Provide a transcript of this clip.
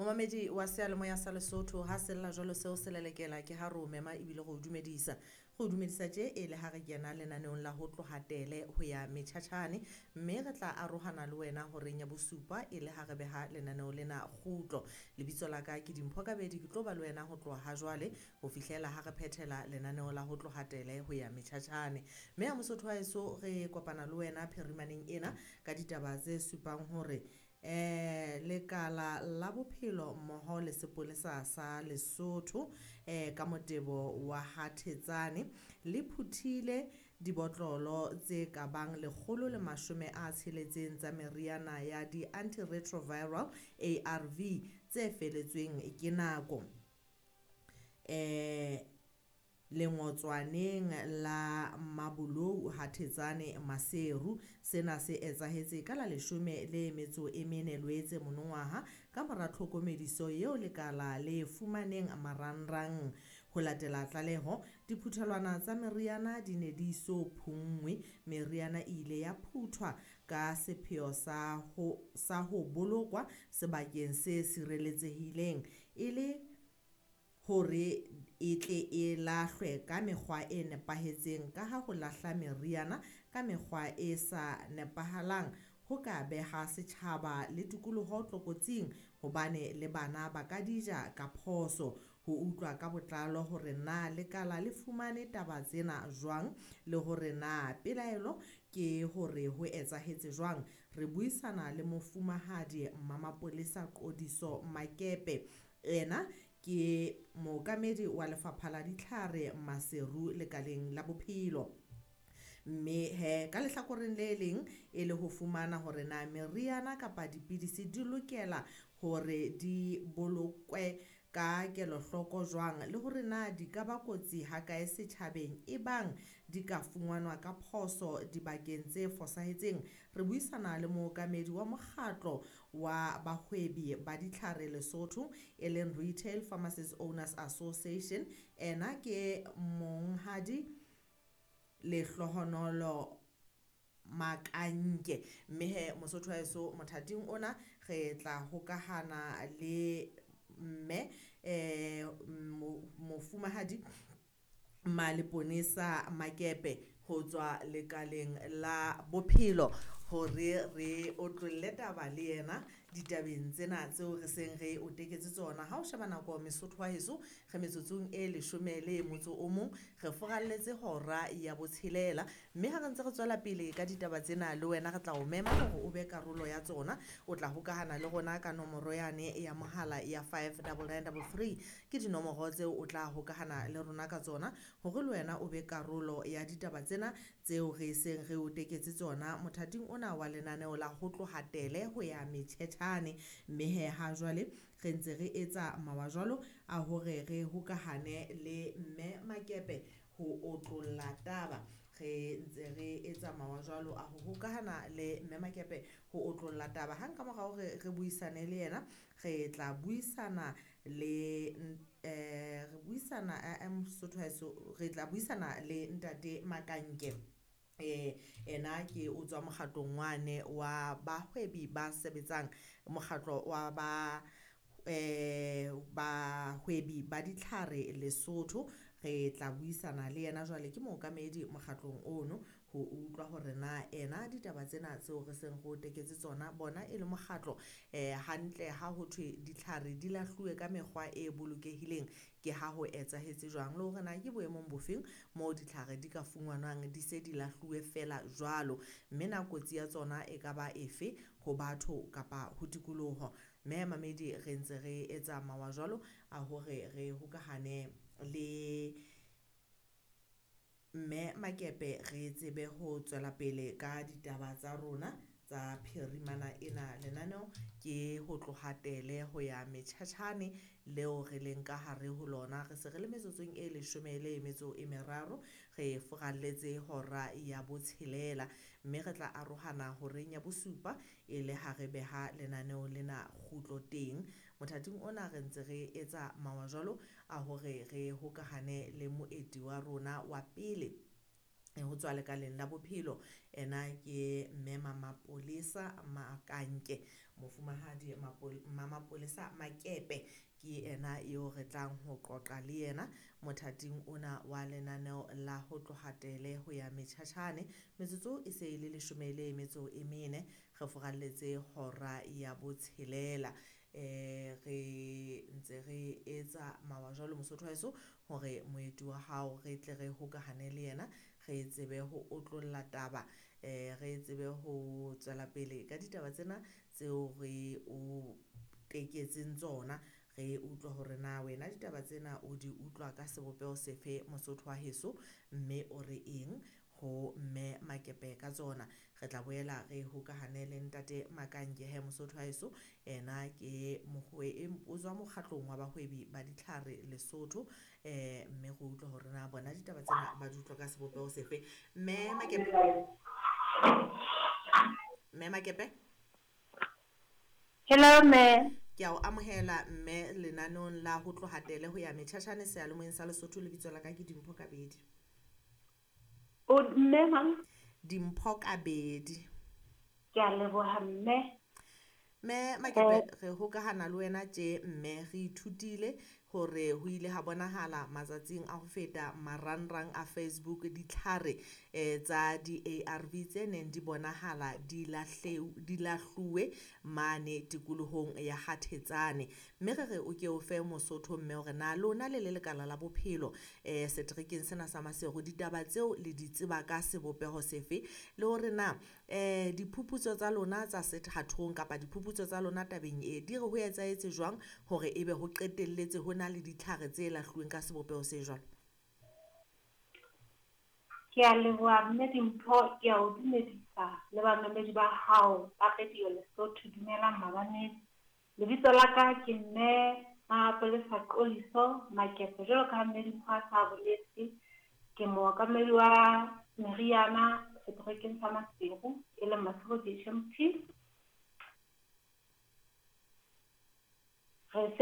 Momamedi wa seyalemoya sa Lesotho ha sella jwalo seo se lelekela ke ha re o mema ebile re o dumedisa. Re o dumedisa tje e le ha re kena lenaneong la ho tloha tele ho ya metjhatjhane, mme re tla arohana le wena horeng ya bosupa e le ha re beha lenaneo lena kgutlo. Lebitso la ka ke Dimpho Kabedi, ke tlo ba le wena ho tloha ha jwale ho fihlela ha re phethela lenaneo la ho tloha tele ho ya metjhatjhane. Mme ha Mosotho wa heso re kopana le wena phirimaneng ena ka ditaba tse supang hore lekala la bophelo mmoho le sepolesa sa Lesotho ka motebo wa ha Thetsane le phuthile dibotlolo tse ka bang 160 tsa meriana ya di-antiretroviral ARV tse feletsweng ke nako lengotswaneng la Mabolou ha Thetsane Maseru. Sena se etsahetse ka la 14 Loetse monongwaha ka mora tlhokomediso eo lekala le fumaneng marangrang. Ho latela tlaleho, diphuthelwana tsa meriana di ne di so phunngwe. Meriana e ile ya phuthwa ka sepheo sa ho bolokwa sebakeng se sireletsehileng e le hore e tle e lahlwe ka mekgwa e nepahetseng, ka ha ho lahla meriana ka mekgwa e sa nepahalang ho ka beha setjhaba le tikoloho tlokotsing, hobane le bana ba ka di ja ka phoso. Ho utlwa ka botlalo hore na lekala le fumane taba tsena jwang le hore na pelaelo ke hore ho etsahetse jwang, re buisana le mofumahadi Mmamapolesa Qodiso Makepe. Ena ke mookamedi wa lefapha la ditlhare Maseru lekaleng la bophelo. Mme he ka lehlakoreng le leng e le ho fumana hore na meriana kapa dipidisi di lokela hore di bolokwe ka kelohloko jwang le hore na di ka ba kotsi ha kae setjhabeng ebang di ka fumanwa ka phoso dibakeng tse fosahetseng. Re buisana le mookamedi wa mokgatlo wa bahwebi ba ditlhare Lesotho e leng Retail Pharmacies Owners Association. Ena ke monghadi Lehlohonolo Makanke. Mme he Mosotho wa heso mothating ona re tla hokahana le mme mofumahadi Maleponesa Makepe ho tswa lekaleng la bophelo hore re otlolle taba le yena ditabeng tsena tseo re seng re o teketse tsona. Ha o sheba nako Mesotho wa heso re metsotsong e 11 re foralletse hora ya 6, mme ha re ntse re tswela pele ka ditaba tsena le wena re tla o mema hore o be karolo ya tsona. O tla hokahana le rona ka nomoro yane ya mohala ya 59933, ke dinomoro tseo o tla hokahana le rona ka tsona hore le wena o be karolo ya ditaba tsena tseo re seng re o teketse tsona mothating ona wa lenaneo la ho tloha tele ho ya metjhetjhane. Mme he ha jwale re ntse re etsa mawa jwalo a hore re hokahane le mme Makepe ho otlolla taba. Re ntse re etsa mawa jwalo a ho hokahana le mme Makepe ho otlolla taba. Hang ka mora hore re buisane le yena, re tla buisana le re buisana Mosotho wa heso, re tla buisana le ntate Makanke. Ena ke o tswa mokgatlong wane wa bahwebi ba sebetsang, mokgatlo wa ba bahwebi ba ditlhare Lesotho. Re tla buisana le yena jwale, ke mookamedi mokgatlong ono, ho utlwa hore na ena ditaba tsena tseo re seng re o teketse tsona bona e le mokgatlo hantle ha ho thwe ditlhare di lahluwe ka mekgwa e bolokehileng ke ha ho etsahetse jwang, le hore na ke boemong bofeng moo ditlhare di ka fumanwang di se di lahluwe fela jwalo, mme na kotsi ya tsona e ka ba efe ho batho kapa ho tikoloho. Mme mamedi re ntse re etsa mawa jwalo a hore re hokahane le mme Makepe re tsebe ho tswela pele ka ditaba tsa rona tsa phirimana ena. Lenaneo ke ho tloha tele ho ya metjhatjhane leo re leng ka hare ho lona. Re se re le metsotsong e 13 re foralletse hora ya 6, mme re tla arohana horeng ya 7 e le ha re beha lenaneo lena kgutlo teng. Mothating ona re ntse re etsa mawa jwalo a hore re hokahane le moeti wa rona wa pele. Ho tswa lekaleng la bophelo, ena ke mme Mamapolesa Makanke, mofumahadi Mamapolesa Makepe ke ena eo re tlang ho qoqa le yena mothating ona wa lenaneo la ho tloha tele ho ya metjhatjhane. Metsotso e se e le 14 re furalletse hora ya botshelela. Re ntse re etsa mawa jwalo Mosotho wa heso hore moeti wa hao re tle re hokahane le yena, re tsebe ho otlolla taba, re tsebe ho tswela pele ka ditaba tsena tseo re o teketseng tsona. Re utlwa hore na wena ditaba tsena o di utlwa ka sebopeho sefe Mosotho wa heso, mme o re eng ho mme Makepe ka tsona. Re tla boela re hokahane le ntate Makanke he Mosotho wa heso, ena ke o tswa mokgatlong wa bahwebi ba ditlhare Lesotho, mme re utlwa hore na bona ditaba tsena ba di utlwa ka sebopeho sefe. Mme Makepe, mme Makepe. Hello mme. Ke a o amohela mme lenaneong la ho tloha tele ho ya metjhatjhane seyalemoyeng sa Lesotho. Lebitso la ka ke Dimpho Kabedi. O mme mang? Dimpho Kabedi. Ke a leboha mme. Mme Makepe, re hokahana le wena tje mme re ithutile hore ho ile ha bonahala matsatsing a ho feta marangrang a Facebook ditlhare tsa di-ARV tse neng di bonahala di lahluwe mane tikolohong ya Hathetsane. Mme re re o ke o fe Mosotho mme hore na lona le le lekala la bophelo seterekeng sena sa Maseru ditaba tseo le di tseba ka sebopeho sefe, le hore na diphuputso tsa lona tsa sethathong kapa diphuputso tsa lona tabeng e di re ho etsahetse jwang hore ebe ho qetelletse ho na le ditlhare tse lahluweng ka sebopeho se jwalo? Ke a leboha mme Dimpho, ke a o dumedisa le bamamedi ba hao ba Radio Lesotho. Dumelang mamamedi. Lebitso la ka ke mme Mapolesa Qoliso Makepe, jwalo ka ha mme Dimpho a sa boletse, ke mookamedi wa meriana seterekeng sa Maseru, e leng Maseru DHMT. Re